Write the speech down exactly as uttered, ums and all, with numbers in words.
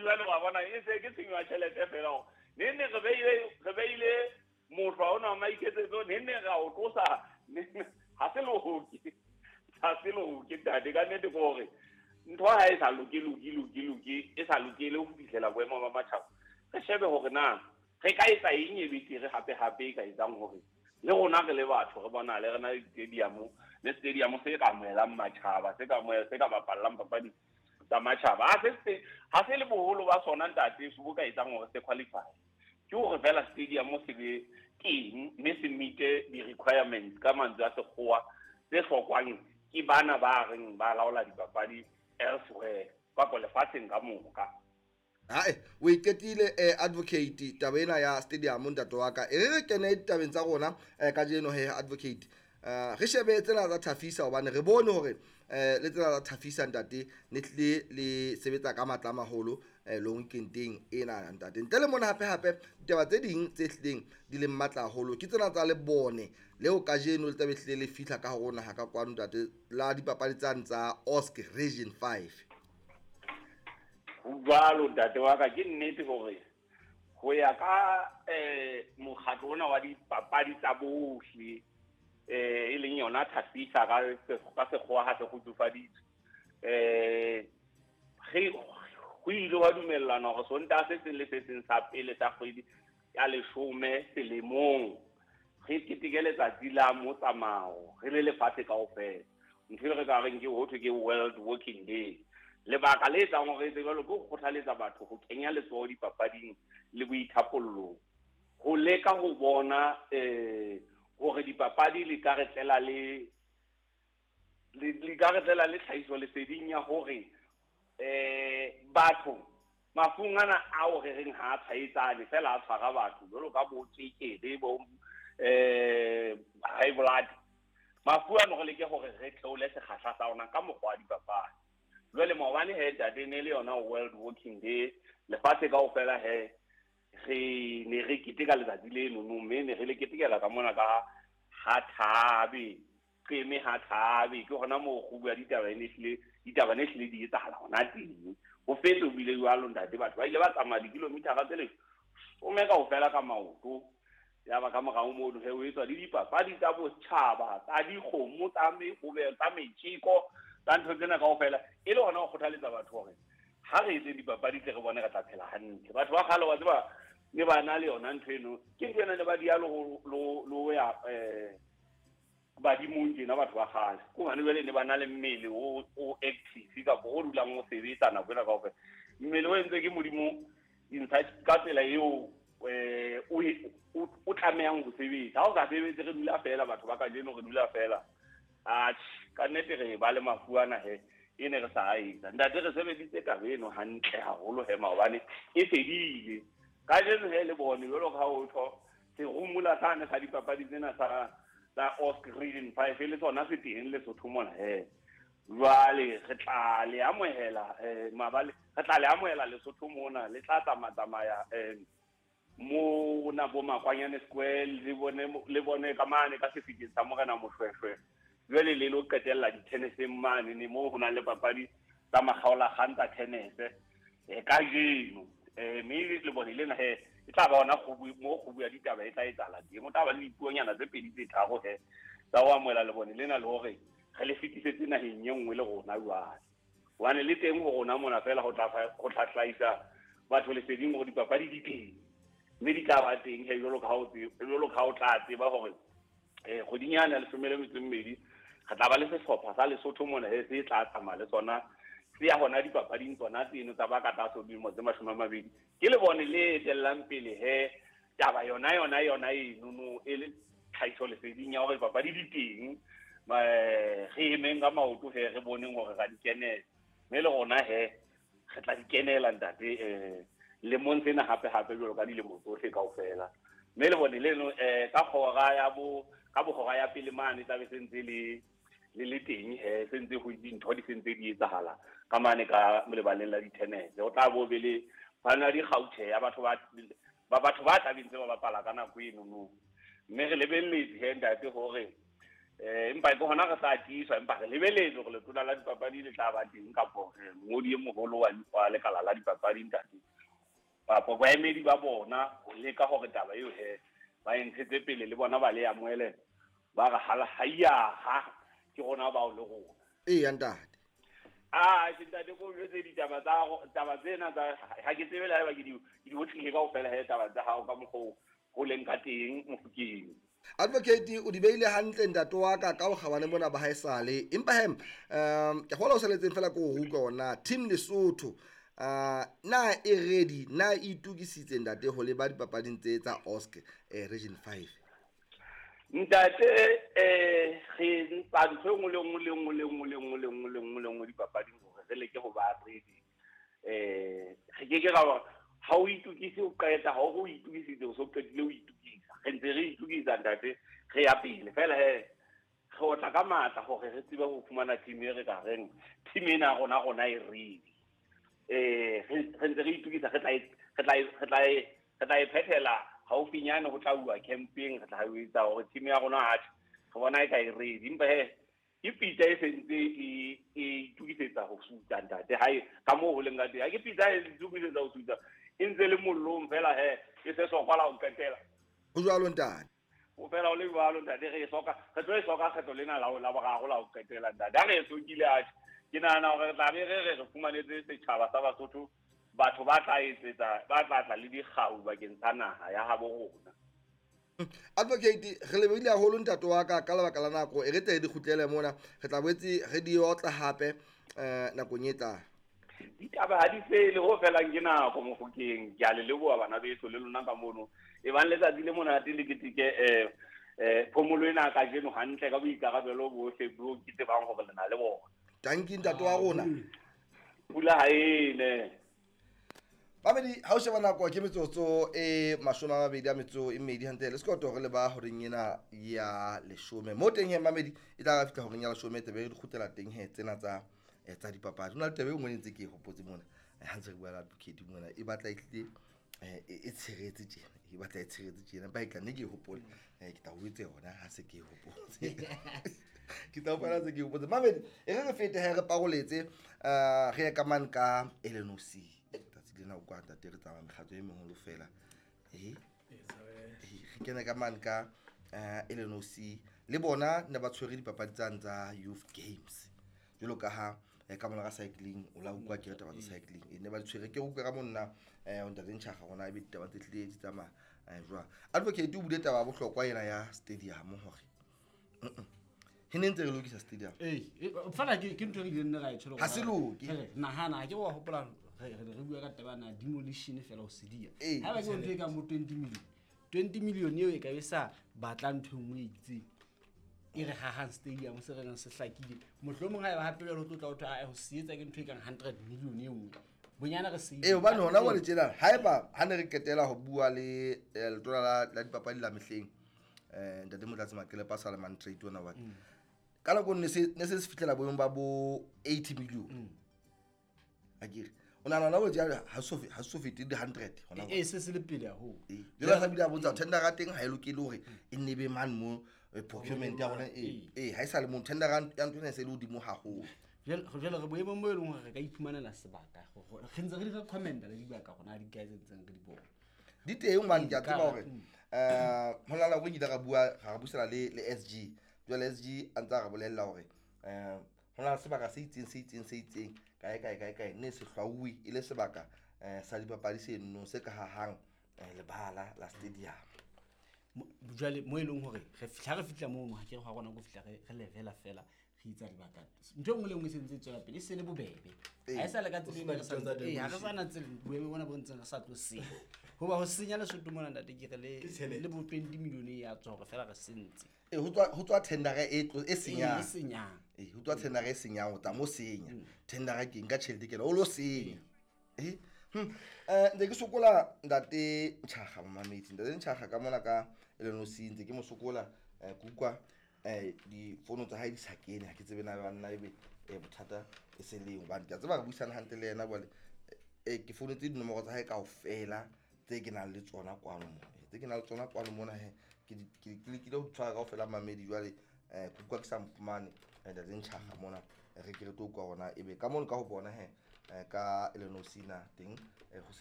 jwale wa bona e se ke tshenyo ya tjhelete fela hore ne ne re beile re beile motho ona wa maiketsetso ne ne ra o tlosa ha se loke ha se loke ntate. Ka nnete ke hore ntho ha e sa loke loke loke loke e sa lokele ho fihlela boemo ba matjhaba, re shebe hore na re ka etsa eng e betere hape hape e ka etsang hore le rona re le batho re bonale re na le stadium le stadium se ka amohelang matjhaba se ka amohela se ka bapallang papadi tsa matjhaba. Ha se ha se le boholo ba sona ntate se bo ka etsang hore se qualify ke hore fela stadium se be teng mme se meet-e di-requirements ka mantswe a sekgowa tse hlokwang ke bana ba reng ba laola dipapadi elsewhere kapa lefatsheng ka moka. Hae o iketile eh, advocate taba ena ya stadium ntate wa ka e re re kene ditabeng tsa rona eh, kajeno he advocate eh, re shebe tsena tsa Thafisa hobane re bone hore eh, le tsena tsa Thafisa ntate ne tlile le sebetsa ka matla a maholo eh, long weekendeng ena ntate. Ntle le mona hape hape ditaba tse ding tse hlileng di leng matla haholo ke tsena tsa lebone leo kajeno le tlabe hlile le fihla ka hare ho naha ka kwano ntate la dipapadi tsane tsa O S C Region five. Ho jwalo ntate wa ka, ke nnete hore ho ya ka eh mokgatlo ona wa dipapadi tsa bohle eh e leng yona Thafisa ka ka sekgowa ha se kgutsufaditswe eh re ho ile wa dumellana hore Sontaha se seng le se seng sa pele sa kgwedi ya leshome selemong re keteke letsatsi la motsamao re le lefatshe kaofela. Ntho e re ka reng ke ho thwe ke World Walking Day. Lebaka le etsang hore etse jwalo ke ho kgothaletsa batho ho kenya letsoho dipapading le boithapollong, ho leka ho bona eh hore dipapadi li ka re tlela le li ka re tlela le tlhahiso leseding ya hore eh batho mafung ana ao re reng ha a tshwaetsane fela a tshwara batho jwalo ka bo tswekere bo eh high blood, mafu ano re leke hore re theole sekgahla sa ona ka mokgwa wa dipapadi. Jwale maobane he ntate ne le yona World Walking Day lefatshe kaofela he re ne re keteka letsatsi leno no mme ne re le ketekela ka mona ka ha Thabe qeme ha Thabe ke hona moo kgubu ya ditaba e ne hlile ditaba ne hlile di etsahala hona teng. Ho fetse ho bile jwalo ntate, batho ba ile ba tsamaya dikilomitara tse leshome kaofela ka maoto. Ya ba ka morao mono he ho etswa le dipapadi tsa botjhaba tsa dikgomo tsa mehobe tsa metjeko tsa ntho tsena kaofela e le hona ho kgothaletsa batho hore ha re etse dipapadi tle re bone re tla phela hantle. Batho ba kgale wa tseba ne ba na le yona ntho eno ke ntho ena ne ba dia le ho ya eh badimong tjena batho ba kgale ke hobane jwale ne ba na le mmele o o active kapa o dulang o sebetsa nako ena kaofela. Mmele o entswe ke Modimo dintlha ka tsela eo eh o o tlamehang ho sebetsa. Ha o sa sebetse re dula fela batho ba kajeno re dula fela atjhe ka nnete re ba le mafu ana he e ne re sa etsa ntate. Re sebeditse taba eno hantle haholo he maobane e fedile kajeno he le bone jwalo ka ha o tho serumula sane sa dipapadi tsena sa tsa O S C Region five le tsona se teng Lesotho mona he. Jwale re tla le amohela eh mabale re tla le amohela Lesotho mona le tla tsamaya tsamaya eh mo na bo Makwanyane Square le bone le bone ka mane ka sefikeng sa Morena Moshweshwe. Jwale le lo qetella di-tenniseng mane ne moo ho nang le papadi tsa makgaolakgang tsa tennis eh kajeno eh mme le bone lena he e tla ba hona kgubu mo kgubu ya ditaba e tla etsahala teng. O tla ba le dipuonyana tse pedi tse tharo he tsa ho amohela lebone lena le hore re le fetisetse naheng e nngwe le rona jwale hobane le teng ho rona mona fela ho tla ho tla hlahisa batho leseding hore dipapadi di teng mme di tla ba teng he jwalo ka ha o jwalo ka ha o tla tseba hore eh kgweding yane ya leshome le metso e mmedi re tla ba le sehlopha sa Lesotho mona he se tla tsamaya le sona se ya hona dipapading tsona tseno tsa ba ka tlase ho dilemo tse mashome a mabedi. Ke le bone le etellang pele he taba yona yona yona eno e le tlhahiso leseding ya hore dipapadi di teng re emeng ka maoto he re boneng hore ra di kenela mme le rona he re tla di kenela ntate eh lemong sena hape hape jwalo ka dilemo tsohle kaofela. Mme le bone leno eh ka hora ya bo ka bohora ya pele mane tla be se ntse le le le teng he se ntse ho dintho di sentse di etsahala ka mane ka lebaleng la di-tennis. O tla bo be le bana di-gauche ya batho ba ba batho ba tla bentse ba bapala ka nako eno no mme re lebelletse he ntate hore Eh empa ke hona re sa tiiswa, empa re lebeletse hore letona la dipapadi le tla ba teng kapo mongodi e moholo wa wa lekala la dipapadi ntate. Kapo baemedi ba bona ho leka hore taba eo he ba e ntshetse pele le bona ba le amohele ba re hala haiya ha ke rona bao le rona. Eya ntate. Ah ke ntate ko jwetse ditaba tsa taba tsena tsa ha ke tsebe le haeba ke di ke di otlile kaofela he taba tsa hao ka mokgwa ho leng ka teng Mofokeng. Advocate o di beile hantle ntate wa ka ka bokgabane mona ba haesale, empa he um ke kgolwa o saletseng fela ke ho utlwa hore team Lesotho uh na e ready, na e itukisitse ntate ho leba dipapading tse tsa O S C eh Region five? Ntate eh re ntsa ntho e nngwe le nngwe le nngwe le nngwe le nngwe le nngwe le nngwe le nngwe dipapading hore re leke ho ba ready. Eh re ke ke ra ha o itukise o qeta, ha o itukisitse o so qetile o itukisa. Re ntse re itukisa ntate, re ya pele fela he re otla ka matla hore re tsebe ho fumana team e re ka reng team ena rona rona e ready. Eh re ntse re itukisa, re tla re tla re tla re tla e phethela haufinyane ho tla uwa camping, re tla etsa hore team ya rona ha re bona e ka e ready. Empa he ke pitsa e sentse e e itukisetsa ho sutsa ntate, ha e ka moo ho leng ka teng ha ke pitsa e itukisetsa ho sutsa e ntse le mollong fela he e se sokola ho qetela. Ho jwalo ntate. O fela o le jwalo ntate, re e soka re tlo e soka kgetlo lena la la boraro la ho qetela ntate. Ha re e sokile atjhe ke nahana hore re tla be re re re fumanetse setjhaba sa Basotho batho ba tla etsetsa ba tla tla le dikgau bakeng sa naha ya habo rona. Advocate re lebile haholo ntate wa ka ka lebaka la nako e re tle di kgutlele mona, re tla boetse re di otla hape eh nakong e tlang. Ditaba ha di fele ho felang ke nako Mofokeng. Ke a le leboha bana beso le lona ka mono. E bang letsatsi le monate le keteke eh eh phomolo ena kajeno hantle ka boikarabelo bohle bo ke tsebang hore le na le bona. Tanki ntate wa rona. Pula ha e ne. Babedi ha o sheba nako ke metsotso e mashome a mabedi a metso e mmedi hantle le sekoto re le ba horeng ena ya leshome. Mo teng he mamedi e tla fihla horeng ya leshome tebe re kgutlela teng he tsena tsa tsa dipapadi. Hona le tebe e nngwe ntse ke e hopotse mona ha ntse re bua le advocate mona e batla e tlile e tshiretse tjena, e batla e tshiretse tjena ba e tla ne ke e hopole ke tla o etse yona ha se ke e hopotse. Ke tla hopola se ke e hopotse. Mamedi e re re fete he re paroletse re ye ka mane ka L N O C. Lena o kwa ntate re tsamaya mekgatlo e meholo fela eh re kene ka mane ka L N O C le bona ne ba tshwere dipapadi tsane tsa Youth Games jwalo ka ha ka mona ka cycling o la utlwa ke re taba tsa cycling e ne ba di tshwere ke utlwa ka monna eh ntate Ntjhaga rona ebe ditaba tse tlile di tsamaya jwang. Advocate o bule taba ya bohlokwa ena ya stadium hore he ne ntse re lokisa stadium eh fela ke ke ntho e re ileng ra e tshwere ha se loke nahana ha ke wa hopola re re bua ka taba na demolition fela ho sedia ha ba ke ntho e ka mo twenty million twenty million eo e ka be sa batla ntho e nngwe e itseng e re hahang stadium se re nang se hlakile mohlomong ha e ba hape jwale ho tlotla ho thwe a ho se etsa ke ntho e kang hundred million e nngwe bonyana re se eh hobane hona jwale tjena haeba ha ne re qetela ho bua le letona la la dipapadi la mehleng eh ntate Motlatsi Maqele pa sa le Mantrade ona wa ka nako ne se ne se se fihlela boemong ba bo eighty million akere o nahana hona jwale ha so ha so fete di hundred hona eh se se le pele haholo jwale sa bile a bontsha tender ya teng ha e lokele hore e nne be man mo procurement ya rona e eh ha e sa le mo tender ya ntho ena se le hodimo haholo. Jwale jwale re boemong bo e leng hore re ka iphumanela sebaka re ntse re di recommenda le dibaka rona di guys ntseng re di bona di teng hobane ke a tseba hore eh ho na le nako e nkile ra bua ra buisana le le S G jwale S G a ntse a re bolella hore eh ho na le sebaka se itseng se itseng se itseng kae kae kae kae ne se hlwauwe e le sebaka eh sa dipapadi seno se ka hahang lebala la stadium. Jwale mo e leng hore re fihla re fihla mono ha ke re ha rona go fihla re re levela fela re itsa dibaka ntho e nngwe le nngwe e sentse e tswela pele e se le bobebe ha e sa le ka tsela ena re sa eh ha re sa na tsela boemo bona bo ntseng re sa tlo senya hoba ho senya Lesotho mona ntate ke re le le bo twenty million e ya tswa hore fela re sentse eh ho tswa ho tswa tender e tlo e senyang e senyang eh ho tswa tender e senyang o tla mo senya tender ke nka tjhelete ke o lo senya eh hm eh ntse ke sokola ntate Ntjhaga mamedi ntate Ntjhaga ka mona ka L N O C ntse ke mo sokola ke utlwa eh di fono tsa hae di sa kene ha ke tsebe na ba nna ebe bothata e se leng hobane ke a tseba re buisana hantle le yena jwale eh ke founetse dinomoro tsa hae kaofela tse ke nang le tsona kwano mo tse ke nang le tsona kwano mona he ke ke lekile ho tshwara kaofela mamedi jwale Eh ke utlwa ke sa mfumane eh, ntate Ntjhaga mona. Eh, re ke re tlo utlwa hore na ebe ka mono ka ho bona he eh, ka L N O C na teng eh, ho